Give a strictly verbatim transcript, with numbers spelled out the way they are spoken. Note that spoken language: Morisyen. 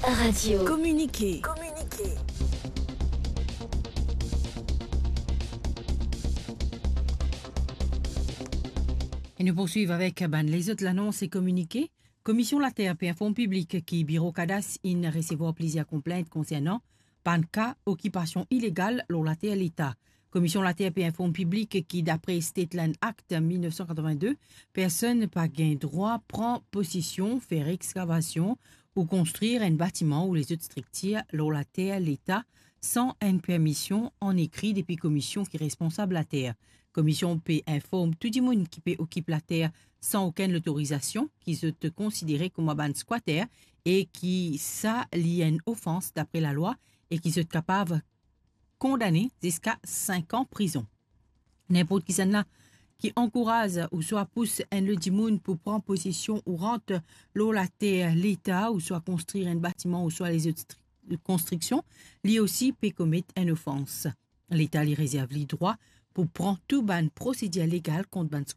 Radio. Kominike. E nou pou swiv avek bann lezot lanons e kominike. Komision Later pe inform piblik ki Biro Kadas inn resevwar plizier konplint konsernan bann ka okipasion ilegal lor later Leta. Komision Later pe inform piblik ki dapre State Land Act mil nef san katrevin-de, personn pa gagn drwa pran posesion, fer exkavasion ou konstrir enn batiman ou lezot striktir lor later Leta san enn permision an ekri depi komision ki responsab later. Komision pe inform tou dimoun ki pe okip later san okenn lotorizasion, ki zot konsidere kouma bann skwater e ki sa li enn ofans dapre lalwa e ki zot kapav kondane ziska sink an prizon. Ninport kisannla ki ankouraz ouswa pous enn lot dimoun pou pran posesion ou rant lor later Leta ouswa konstrir enn batiman ouswa lezot stri-, konstriksion, li osi pe komet enn ofans. Leta li rezerv li drwa pou pran tou bann prosedir legal kont bann